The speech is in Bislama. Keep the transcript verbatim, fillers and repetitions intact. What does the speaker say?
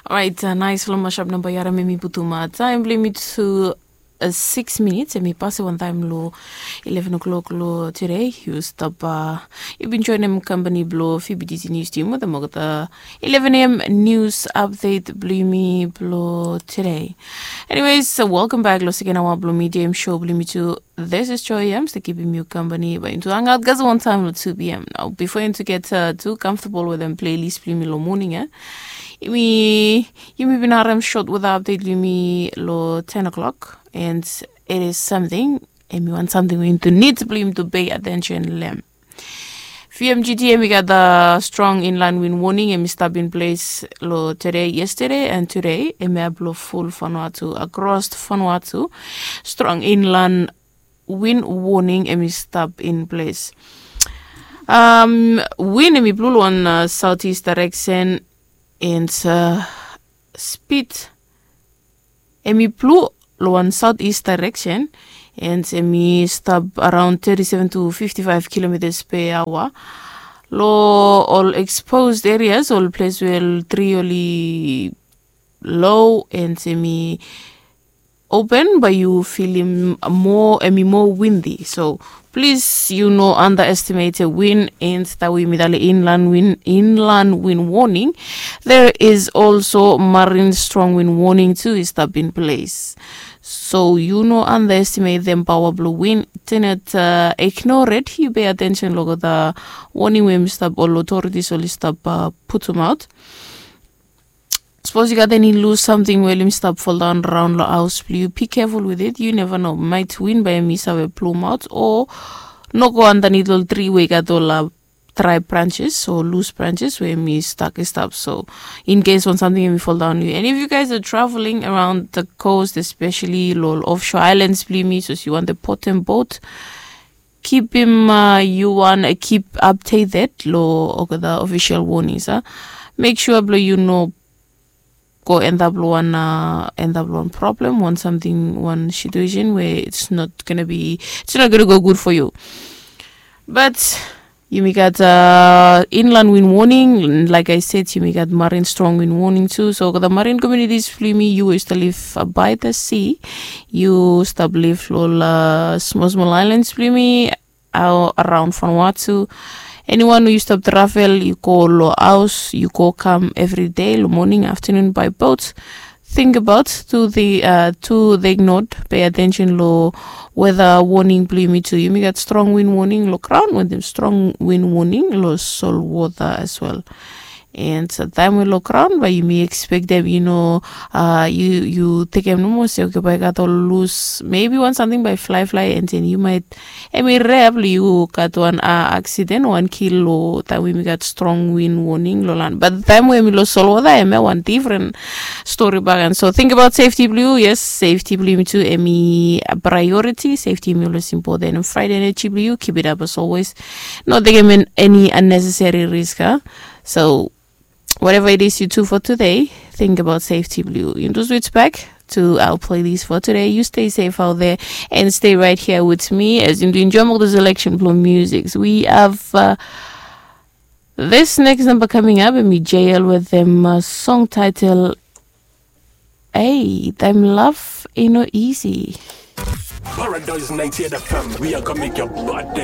Orait, nais long mashup namba i harim em i putum taem blong yumi tu siks minits, em i pase wantaem long eleven o'clock long tude. Yu stap, yu bin joenem kampani blong Fibiditi Nius Tim wetem olgeta eleven a.m. nius apdet blong yumi blong tude. Eniweis, welkam bek long seken aoa blong Midia Em show blong yumi tu. This is Joy Em, stap kipim yu kampani bae yumi tu hangaot kasem wantaem long tu p.m. Nao bifo yumi tu get tu kamfotabol wetem pleilist blong yumi long moning ya, yumi yumi bin harim sot weta apdet blong yumi long ten o'clock, and it is samting, em i wan samting we yumi tu nid blong yumi tu pei atensen long hem. Vmgt, em i gat strong inland win woning, em i stap in ples long tude, yestade and tude, em i ap long ful Vanuatu, akros Vanuatu. Strong inland win woning, em i stap in ples. Win em i blu long wan saotis daereksen, and spid em i blu long wan saotis daereksen, and em i stap araon teti seven tu fifti faef kilometas pe aoa. Long ol ekspos erias, ol ples we ol tri oli lo, and em i open, bae yu filim moa, em i moa windi. So plis yu no andaestimet win, and taem we yumi talem inland win, inland win woning, there is also marin strong win woning tu i stap in ples. So yu no andaestimetem paoa blong win. Tenet, ignore it, yu pei atensen long olgeta woning we yumi stap, ol otoritis oli stap putumaot. Sapos yu gat eni lus samting we oli stap foldaon raon long haos blong yu, be keful wit it. Yu neva no, maet win bae em i save plumaot o no go andanit ol tri we i gat ol drae branses o lus branses we em i stak i stap. So in kes wan samting em i foldaon yu, and if you guys are traveling around the coast, especially long ol ofshore islands blong yumi, sapos yu wantem potem bot, kipim, yu wan kip apdeted long olgeta ofisel wonings a. Mek sua blong yu no go endap long wan, endap long wan problem, wan samting, wan situesen we it's not gonna be, it's not gonna go good for you. But yumi gat inland win woning, laek I said, yumi gat marin strong win woning tu. So olgeta marin komunitis blong yumi, yu we yu stap liv bae the sea, yu stap liv long ol smol smol aelans blong yumi, araon Vanuatu. Eniwan we yu stap travel, yu go long haos, yu go kam evri dei long moning, aftanun, bae bot, tingbaot tu, tu tek not, pei atensen long weta woning blong yumi tu. Yumi gat strong win woning long graon wetem strong win woning long solwota as well. And taem we long graon bae yumi ekspektem, yu no, yu tekem nomo se, oke, bae gat ol lus, mebi wan samting bae flaeflae, and then yu maet, em i rea blong yu gat wan aksiden, wan kil long taem we yumi gat strong win woning long lan. Bat taem we em i long solwota, em ya wan difren stori bakegen. So tingbaot sefti blong yu. Yes, sefti blong yumi tu em i praeoriti. Sefti em i olwes impoten. Fraet eneji blong yu, kip it ap as olwes. No tekem eni anneseseri risk a. So whatever it is you do for today, tingbaot sefti blong yu. Yumi tu switch bek tu aoa playlist for today. You stay safe out there and stay right here with me as yumi tu enjoem olgeta selection blong music. We have this next number coming up, em i JL wetem song title, ei, taem love i no isi. Paradise ninety-eight F M, we are gonna make your bad day.